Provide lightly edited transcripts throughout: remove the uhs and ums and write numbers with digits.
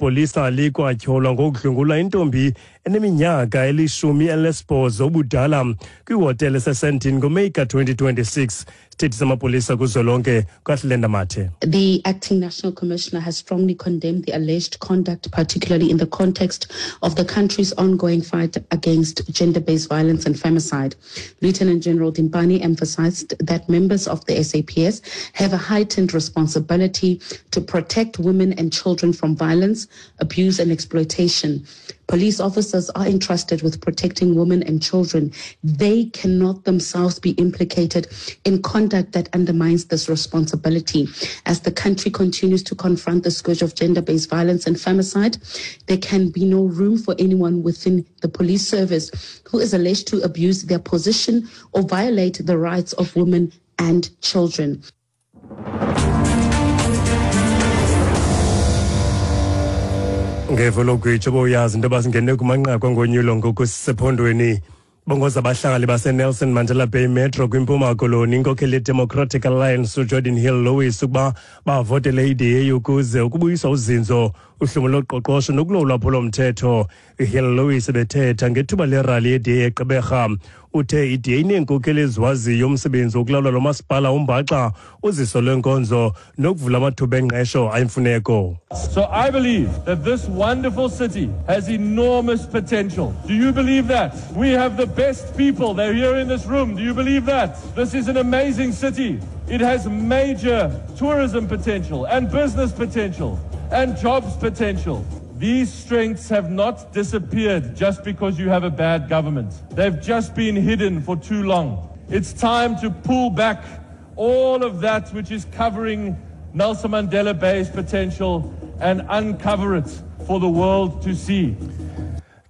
Eli polisa likwatyholwa ngokudlwengula intombi eneminyaka eli-18 ubudala kwihotele eseSandton ngoMeyi ka-2026. Isithethi samapolisa kuzwelonke kwaHlenda Mathe. The acting national commissioner has strongly condemned the alleged conduct, particularly in the context of the country's ongoing fight against gender-based violence and femicide. Lieutenant General Dimpane emphasized that members of the SAPS have a heightened responsibility to protect women and children from violence, abuse and exploitation. Police officers are entrusted with protecting women and children. They cannot themselves be implicated in conduct that undermines this responsibility. As the country continues to confront the scourge of gender-based violence and femicide, there can be no room for anyone within the police service who is alleged to abuse their position or violate the rights of women and children. Ngevo logwitsho bowuyazi into yoba singene kumanqaku angonyulo ngoku sisephondweni. Bongoza abahlali baseNelson Mandela Bay Metro kwiMpuma Koloni inkokheli yeDemocratic Alliance uGeordin Hill-Lewis ukuba bavotele iDA ukuze ukubuyiswa uzinzo, uhlumo loqoqosho nokulawulwa lwaphulo-mthetho. UHill-Lewis ebethetha ngethuba lerali yeDA eGqeberha. Uthe iDA ineenkokheli eziwaziyo umsebenzi wokulawula lo masipala umbaxa, uziso lwenkonzo nokuvula amathuba engqesho ayimfuneko. So I believe that this wonderful city has enormous potential. Do you believe that? We have the best people. They're here in this room. Do you believe that? This is an amazing city. It has major tourism potential and business potential and jobs potential. These strengths have not disappeared just because you have a bad government. They've just been hidden for too long. It's time to pull back all of that which is covering Nelson Mandela Bay's potential and uncover it for the world to see.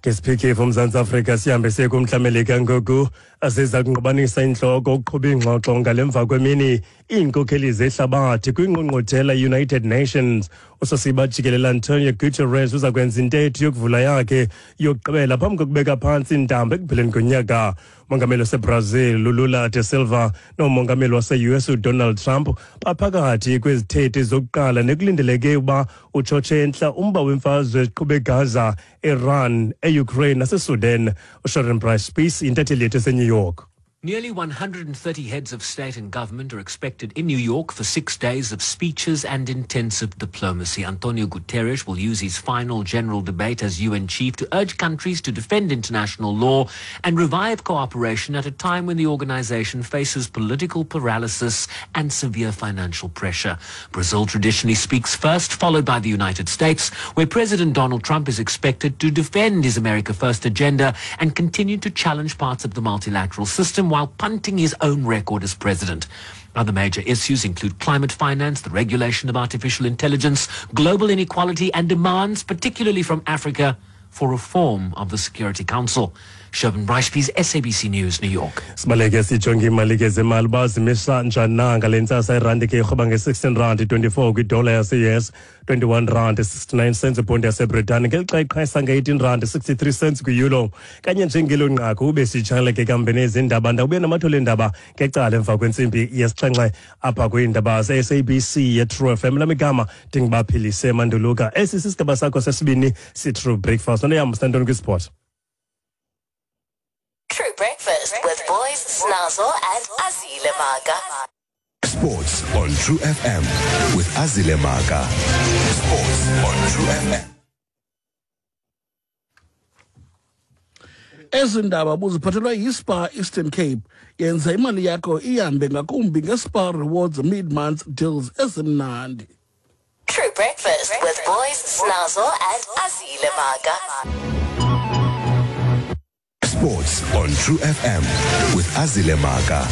Ke siphikifu uMzantsi Afrika sihambe siye kumntla Melika ngoku. Asiza kungqubanisa intloko ukuqhuba iingxoxo ngale mva kwemini iinkokheli zehlabathi kwingqungquthela United Nations. Usosiba jikelele Antonio Guterres uza kwenza intetho yokuvula yakhe yokugqibela phambi kokubeka phantsi intambo ekupheleni konyaka. Umongameli waseBrazil Lula da Silva nomongameli wase-US uDonald Trump baphakathi kwezithethi zokuqala nekulindeleke ukuba utshotshe entla umba wemfazwe eziqhube eGaza, Iran, eUkraine naseSudan. USharon Bryce Spies intatheli yethu eseNew York. Nearly 130 heads of state and government are expected in New York for 6 days of speeches and intensive diplomacy. Antonio Guterres will use his final general debate as UN chief to urge countries to defend international law and revive cooperation at a time when the organization faces political paralysis and severe financial pressure. Brazil traditionally speaks first, followed by the United States, where President Donald Trump is expected to defend his America First agenda and continue to challenge parts of the multilateral system while punting his own record as president. Other major issues include climate finance, the regulation of artificial intelligence, global inequality, and demands, particularly from Africa, for reform of the Security Council. Sherwin Bryce, SABC News, New York. Sibaleke sijonge imali ke zemali uba zimisa njani na ngale ntsasa. Irandi ke irhoba nge-16 rand 24 kwidola yase-US, 21 rand 69 cents ibhondi yaseBritani, ngelixa iqhayisa nge-18 rand 63 cents kwi-euro. Kanye njengelo nqaku ube sitshaleke ke kambe nezindaba ndawubuye namathole endaba ngecala emva kwentsimbi yesixhenxe apha kwiindaba ze-SABC ye-True FM. Lam igama ndingubaphilise Manduluka. Esi sisigaba sakho sesibini si-True Breakfast. Noneyam sinantoni kwisport. True Breakfast with Boys, Snazzle and Azile Maga. Sports on True FM with Azile Maga. Sports on True FM. Ezi ndaba buziphathelwa yiSpar Eastern Cape. Yenza imali yakho ihambe ngakumbi ngeSpar Rewards mid-month deals ezimnandi. True Breakfast with Boys, Snazzle and Azile Maga. Sports on True FM with Azile Maga.